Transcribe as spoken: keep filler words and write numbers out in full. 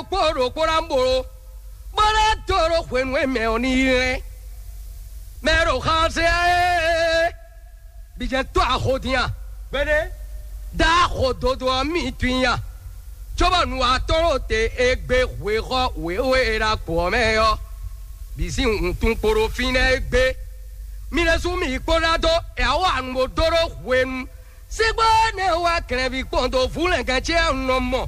kpó ɖokpó ná bolo, bó ná dó ɖó hwenu e mɛ ɔ́ ní yi lɛ́n. Mɛ ɖo xansɛ ɛ, bijɛ tó axo dín a? Gbɛɖe, dá axo dodo ɔ́ mi tun ya, cóbɔ nu atɔ́ ɖo te e gbe hwexɔ wěwe e ɖo agbo ɔ́ mɛ ɔ́, bǐ sín wuntun kpo ɖo fínɛ́ e gbe. Mi ɖésú mi yi kpó ná dó, è wá nu bó dó ɖó hwenu. Sígbó énɛ́ wá glɛ̌nví kpɔn dó vú lɛ̌ngɛ́n ce ɔ́ nɔ mɔ,